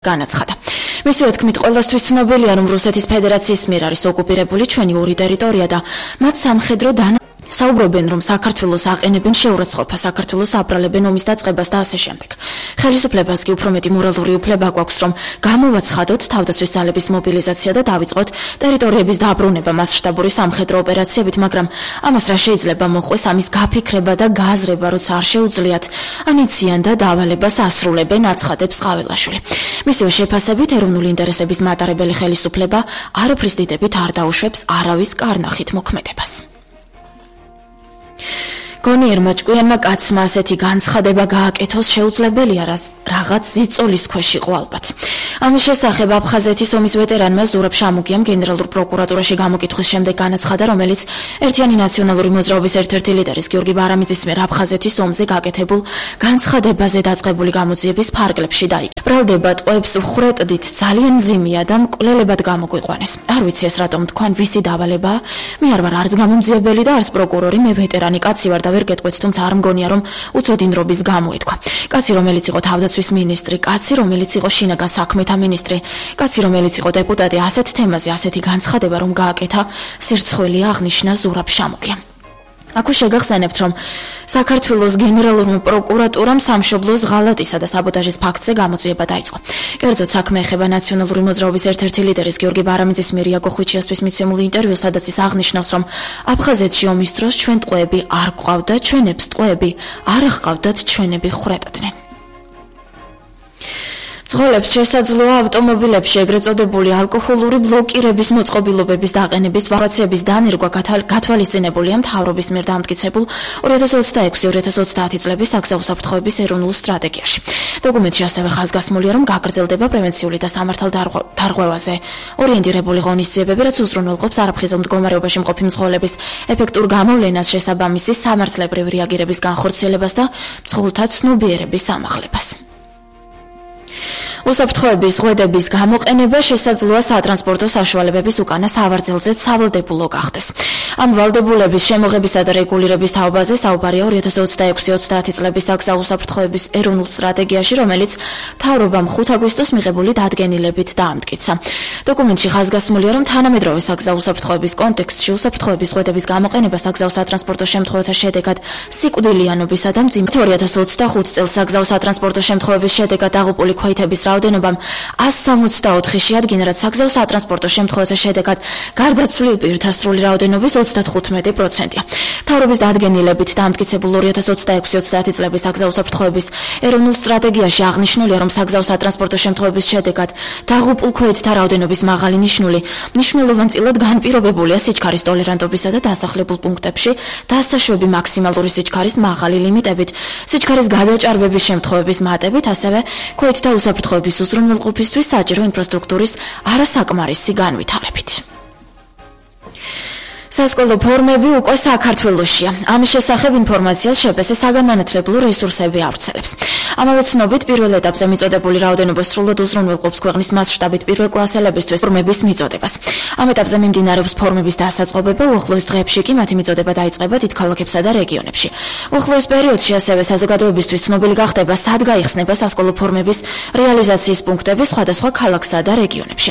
განაცხადა. მისივე თქმით, ყველასთვის ცნობილია, რომ რუსეთის ფედერაციის მიერ არის ოკუპირებული ჩვენი ორი ტერიტორია და მათ სამხედრო საუბრობენ, რომ საქართველოს აყენებენ შეურაცხყოფას, საქართველოს აბრალებენ ომის დაწყებას და ასე შემდეგ. ხელისუფლებას კი უფრო მეტი მორალური უფლება გვაქვს, რომ გამოვაცხადოთ თავდაცვის ძალების მობილიზაცია და დავიწყოთ ტერიტორიების დაბრუნება მასშტაბური სამხედრო ოპერაციებით, მაგრამ ამას რა შეიძლება მოხდეს, ამის გაფიქრება და გაზრება, როცა არ შეუძლიათ, ანიციან და დავალებას ასრულებენ, აცხადებს ყაველაშვილი. მისივე შეფასებით, ეროვნული ინტერესების მატარებელი ხელისუფლება არაფრის დიდებით არ დაუშვებს არავის კარნახით მოქმედებას. გონიერმა ჭკვიანმა კაცმა ასეთი განცხადება გააკეთოს შეუძლებელია, რაღაც ზიწოლის ქვეშ იყო ალბათ. ამის შესახებ აფხაზეთის ომის ვეტერანმა ზურაბ შამუგიამ გენერალურ პროკურატურაში გამოკითხვის შემდეგ განაცხადა, რომელიც ერთიანი ნაციონალური მოძრაობის ერთ-ერთი ლიდერის გიორგი ბარამიძის მიერ აფხაზეთის ომზე გაკეთებულ განცხადებაზე დაწყებული გამოძიების ფარგლებში დაიკრა. ბრალდება ტყვეებს ვხრეტდით ძალიან მძიმეა და მკვლელებად გამოგვიყვანეს. არ ვიცი ეს რატომ თქვენ ვისი დავალებაა? მე არ ვარ არც გამომძიებელი და არც პროკურორი, მე ვეტერანი კაცი ვარ და ვერ გეტყვით, თუმცა არ მგონია, რომ უცოდინრობის გამოეთქვა. კაცი, რომელიც იყო თავდაცვის მინისტრი, კაცი, რომელიც იყო შინაგან საქმეთა მინისტრი, კაცი, რომელიც იყო დეპუტატი, ასეთ თემაზე ასეთი განცხადება რომ გააკეთა, სირცხვილია, აღნიშნა ზურაბ შამუგიამ. აქ შეგახსენებთ, რომ საქართველოს გენერალურმა პროკურატურამ სამშობლოს ღალატისა და საბოტაჟის ფაქტზე გამოძიება დაიწყო. კერძოდ საქმე ეხება ნაციონალური მოძრაობის ერთ-ერთი ლიდერის გიორგი ბარამიძის მიერ იაკო ხვიჩიასთვის მიცემული ინტერვიუ, სადაც ის აღნიშნავს, რომ აფხაზეთში ომის დროს ჩვენ ტყვეები არ გვყავდა, ჩვენებს ტყვეები არ ჰყავდათ, ჩვენები ხვრეტდნენ. მძღოლებს შესაძლოა ავტომობილებში ეგრეთ წოდებული ალკოჰოლური ბლოკირების მოწყობილობების დაყენების ვარაცების დანერგვა გათვალისწინებულია მთავრობის მიერ დამტკიცებულ 2026-2030 წლების საგზაო საფრთხეების ეროვნულ სტრატეგიაში. დოკუმენტში ასევე ხაზგასმულია, რომ გაგრძელდება პრევენციული და სამართალდარღვევაზე ორიენტირებული ღონისძიებები, რაც უზრუნველყოფს არაფხიზელ მდგომარეობაში მყოფი მძღოლების ეფექტურ გამოვლენას, შესაბამისი სამართლებრივი რეაგირების განხორციელებას და მძღოლთა ცნობიერების ამაღლებას. უსაფრთხოების ზღვედების გამოყენება შესაძლოა სატრანსპორტო საშუალებების უკანა სავარძელზე სავალდებულო გახდეს. ამ ვალდებულების შემოღებისა და რეგულირების თაობაზე საუბარია 2026-30 წლების საგზაო საფრთხეების ეროვნულ სტრატეგიაში, რომელიც მთავრობამ 5 აგვისტოს მიღებული დადგენილებით დაამტკიცა. დოკუმენტში ხაზგასმულია, რომ თანამედროვე საგზაო საფრთხეების კონტექსტში უსაფრთხოების ზღვედების გამოყენება საგზაო სატრანსპორტო შემთხვევათა შედეგად სიკვდილიანობისა და მძიმე 2025 წელს საგზაო სატრანსპორტო შემთხვევების შედეგად დაღუპული ქვეითების რაოდენობა 164-ში შეადგინა, რაც საგზაო სატრანსპორტო შემთხვევათა შედეგად გარდაცვლილ პირთა სრული რაოდენობის 35%-ია. მთავრობის დადგენილებით დამტკიცებულ 2026-30 წლების საგზაო საფრთხეების ეროვნულ სტრატეგიაში აღნიშნულია, რომ საგზაო სატრანსპორტო შემთხვევების შედეგად დაღუპულ ქვეითთა რაოდენობის მაღალი მნიშვნელოვანწილად განპირობებულია სიჩქარის ტოლერანტობისა და დასახლებულ პუნქტებში დასაშვები მაქსიმალური სიჩქარის მაღალი ლიმიტებით, სიჩქარის გადაჭარბების შემთხვევების მატებით, ასევე ქვეითთა უსაფრთხოების უზრუნველყოფისთვის საჭირო ინფრასტრუქტურის არასაკმარისი განვითარებით. სასკოლო ფორმები უკვე საქართველოშია. ამის შესახებ ინფორმაციას შეფესე საგანმანათლებლო რესურსები ავრცელებს. ამავე ცნობით, პირველ ეტაპზე მიწოდებული რაოდენობა სრულად უზრუნველყოფს ქვეყნის მასშტაბით პირველკლასელებისთვის ფორმების მიწოდებას. ამ ეტაპზე მიმდინარეობს ფორმების დასაწყობება, უახლოეს დღეებში კი მათი მიწოდება დაიწყება დიდ ქალაქებსა და რეგიონებში. უახლოეს პერიოდში ასევე საზოგადოებისთვის ცნობილი გახდება, სად გაიხსნება სასკოლო ფორმების რეალიზაციის პუნქტები სხვადასხვა ქალაქსა და რეგიონებში.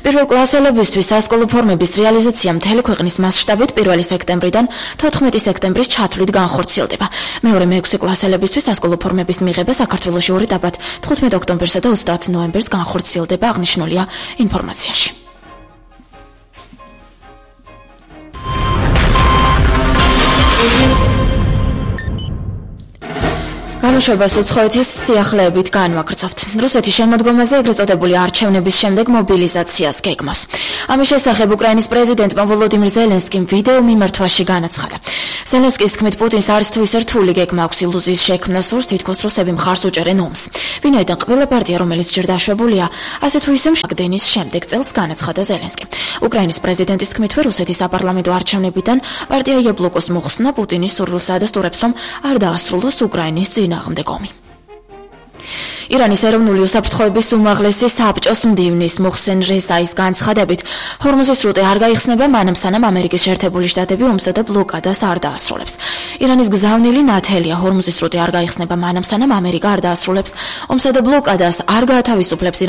პირველკლასელებისთვის სასკოლო ფორმების რეალიზაცია მთელი ქვეყნის მასშტაბით 1 სექტემბრიდან 14 სექტემბრის ჩათვლით განხორციელდება. მეორე მე-6 კლასელებისთვის სასკოლო ფორმების მიღება საქართველოში 2 ეტაპად 15 ოქტომბერსა და 30 ნოემბერს განხორციელდება, აღნიშნულია ინფორმაციაში. გამოშვებას უცხოეთის სიახლეებით განვაგრძობთ. რუსეთის შემოდგომაზე ეგრეთ წოდებული არჩევნების შემდეგ მობილიზაციას გეგმავს. ამის შესახებ უკრაინის პრეზიდენტმა ვოლოდიმირ ზელენსკიმ ვიდეო მიმართვაში განაცხადა. ზელენსკის თქმით, პუტინს არის თუ ისე რთული გეგმა აქვს ილუზიის შექმნას, სურს თითქოს რუსები მხარს უჭერენ ომს. ვინაიდან ყველა პარტია, რომელიც ჯერ დაშვებულია, ასე თუ ისე მშაგდენის შემდეგ წელს განაცხადა ზელენსკიმ. უკრაინის პრეზიდენტის თქმით, რუსეთის საპარლამენტო არჩევნებიდან პარტია იაბლოკოს მოხსნა პუტინის სურვილსა და სტურებს, რომ არ დაასრულოს უკრაინის წინააღმდეგ ომი. ირანის ეროვნული უსაფრთხოების უმაღლესი საბჭოს მდივნის მოხსენ რეზაის განცხადებით, ჰორმუზის სრუტე არ გაიხსნება მანამ სანამ ამერიკის შეერთებული შტატები ომსა და ბლოკადას არ დაასრულებს. ირანის გზავნილი ნათელია, ჰორმუზის სრუტე არ გაიხსნება მანამ სანამ ამერიკა არ დაასრულებს ომსა და ბლოკადას არ გაათავისუფლებს